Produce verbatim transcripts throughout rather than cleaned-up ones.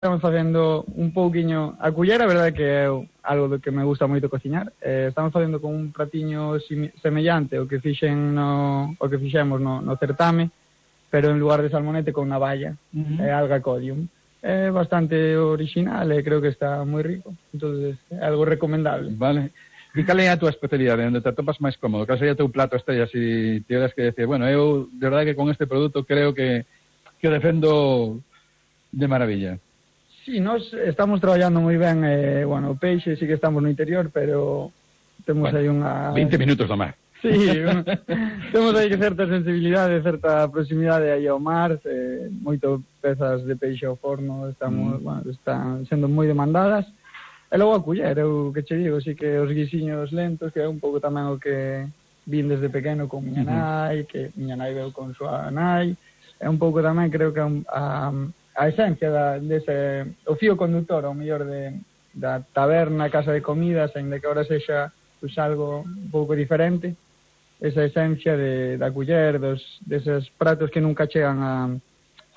Estamos facendo un pouquiño a cullera, a verdade que é algo do que me gusta moito cociñar. Eh, estamos facendo con un pratiño semellante o que fixen no o que fixemos no, no certame, pero en lugar de salmonete con navalla, uh-huh. é alga codium. É bastante original e creo que está moi rico. Entonces, é algo recomendable. Vale. E cal é a tua especialidade, onde te atopas máis cómodo? Cal sería o teu plato estrella se tiveras que decir, bueno, eu de verdade que con este produto creo que que o defendo de maravilla? Sí, nós estamos traballando moi ben, eh, bueno, o peixe sí que estamos no interior, pero temos bueno, aí unha... veinte minutos do mar. Sí, un... temos aí certa sensibilidade, certa proximidade aí ao mar, eh, moito pezas de peixe ao forno, estamos, mm. bueno, están sendo moi demandadas. E logo a culler, eu que che digo, sí que os guisiños lentos, que é un pouco tamén o que vin desde pequeno con miña nai, que miña nai veu con súa nai, é un pouco tamén, creo que a, a a esencia da, dese, o fío conductor, ao mellor de, da taberna, casa de comidas, en de que ahora sexa pues, algo un pouco diferente, esa esencia de, da culler, dos, deses pratos que nunca chegan a,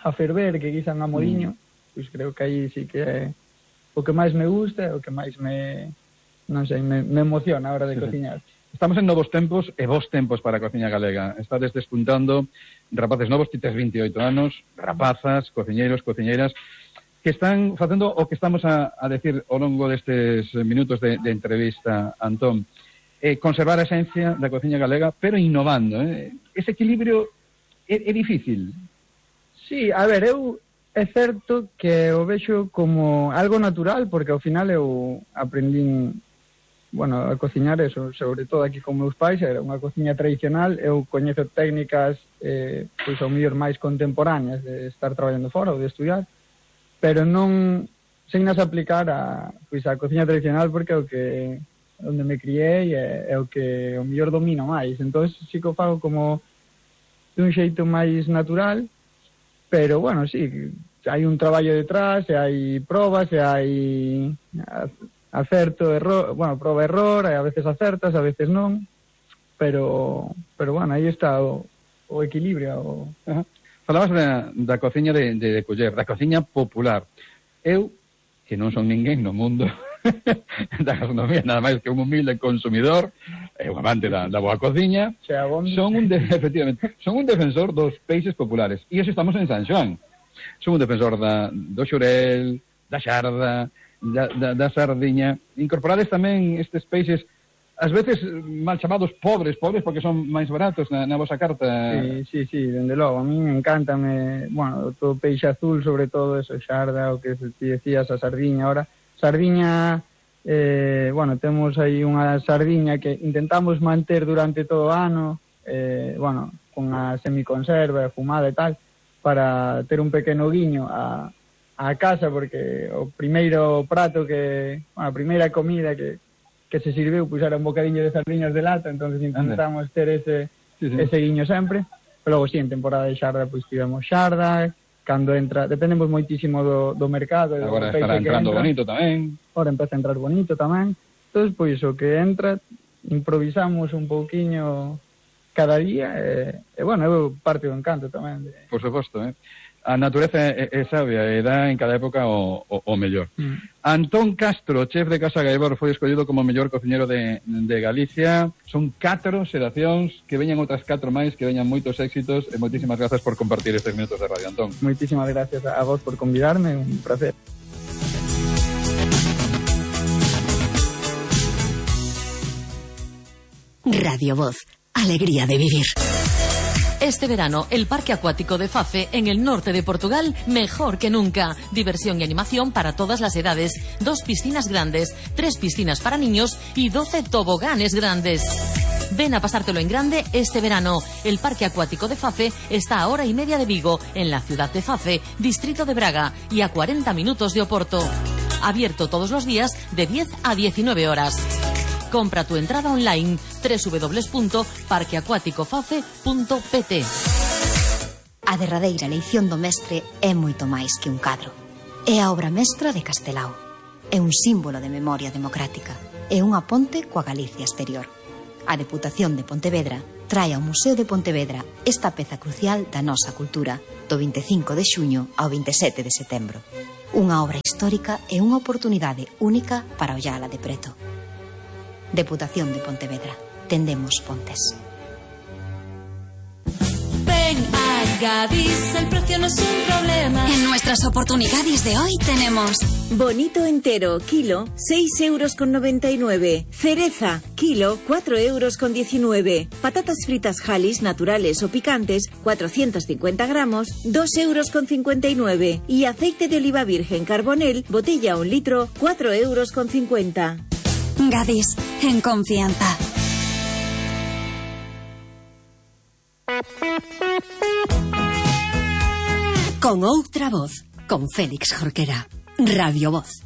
a ferver, que guisan a moliño, mm. pois creo que aí sí que é o que máis me gusta, o que máis me, non sei, me, me emociona a hora de sí, cociñar. Estamos en novos tempos e vos tempos para a cociña galega. Estades despuntando rapaces novos, ti tes veintioito anos, rapazas, cociñeiros, cociñeiras, que están facendo o que estamos a, a decir ao longo destes minutos de, de entrevista, Antón. Eh, conservar a esencia da cociña galega, pero innovando. Eh? Ese equilibrio é, é difícil. Sí, a ver, eu é certo que o vexo como algo natural, porque ao final eu aprendín bueno, a cociñar eso, sobre todo aquí con meus pais, era unha cociña tradicional, eu coñezo técnicas eh, pois ao mellor máis contemporáneas de estar traballando fora ou de estudiar, pero non sen nas aplicar a, pois, a cociña tradicional porque é o que onde me criei é, é o que o mellor domino máis, entón sí que o fago como dun xeito máis natural, pero bueno, sí, hai un traballo detrás, e hai probas, e hai acerto, error, bueno, proba error, a veces acertas, a veces non, pero, pero bueno, aí está o, o equilibrio. O... Uh-huh. Falabas da, da cociña de, de, de culler, da cociña popular. Eu, que non son ninguén no mundo da gastronomía, nada máis que un humilde consumidor, e un amante da, da boa cociña, son un, de, efectivamente, son un defensor dos peixes populares. E eso estamos en San Xoán. Son un defensor da, do xurel, da xarda, Da, da, da sardiña, incorporades tamén estes peixes, ás veces mal chamados pobres, pobres porque son máis baratos na, na vosa carta. Sí, sí, sí, dende logo, a mí me encanta, me, bueno, todo peixe azul, sobre todo eso, xarda, o que ti decías, a sardiña, ahora, sardiña, eh, bueno, temos aí unha sardiña que intentamos manter durante todo o ano, eh, bueno, con a semiconserva, fumada e tal, para ter un pequeno guiño a a casa, porque o primeiro prato que, bueno, a primeira comida que, que se sirveu, pois era un bocadiño de sardiñas de lata, entonces intentamos ter ese, sí, sí. ese guiño sempre, pero logo, sí, en temporada de xarda, pois tivemos xarda, cando entra, dependemos moitísimo do, do mercado. Agora do estará entrando entra, bonito tamén. Agora empeza a entrar bonito tamén, entonces, pois, o que entra, improvisamos un pouquiño cada día, e, e bueno, eu parte do encanto tamén. De... Por suposto, eh. A natureza é, é sabia e dá en cada época o, o, o mellor. Mm. Antón Castro, chef de Casa Gaibor, foi escollido como mellor cociñero de, de Galicia. Son catro xeracións, que veñan outras catro máis, que veñan moitos éxitos, e moitísimas grazas por compartir estes minutos de radio, Antón. Moitísimas gracias a vos por convidarme, un placer. Radio Voz, alegría de vivir. Este verano, el Parque Acuático de Fafe, en el norte de Portugal, mejor que nunca. Diversión y animación para todas las edades. Dos piscinas grandes, tres piscinas para niños y doce toboganes grandes. Ven a pasártelo en grande este verano. El Parque Acuático de Fafe está a hora y media de Vigo, en la ciudad de Fafe, distrito de Braga, y a cuarenta minutos de Oporto. Abierto todos los días de diez a diecinueve horas. Compra tu entrada online doble u doble u doble u punto parque acuático fafe punto p t. A derradeira eleición do mestre é moito máis que un cadro. É a obra mestra de Castelao. É un símbolo de memoria democrática. É unha ponte coa Galicia exterior. A Deputación de Pontevedra trae ao Museo de Pontevedra esta peza crucial da nosa cultura do vinte e cinco de xuño ao veinte e sete de setembro. Unha obra histórica e unha oportunidade única para ollala de preto. Deputación de Pontevedra. Tendemos pontes. Ven a Gadis, el precio no es un problema. En nuestras oportunidades de hoy tenemos bonito entero, kilo, seis euros con noventa y nueve. Cereza, kilo, cuatro euros con diecinueve. Patatas fritas Halis, naturales o picantes, cuatrocientos cincuenta gramos, dos euros con cincuenta y nueve. Y aceite de oliva virgen Carbonel, botella un litro, cuatro euros con cincuenta. Gadis, en confianza. Con outra voz, con Félix Jorquera. Radio Voz.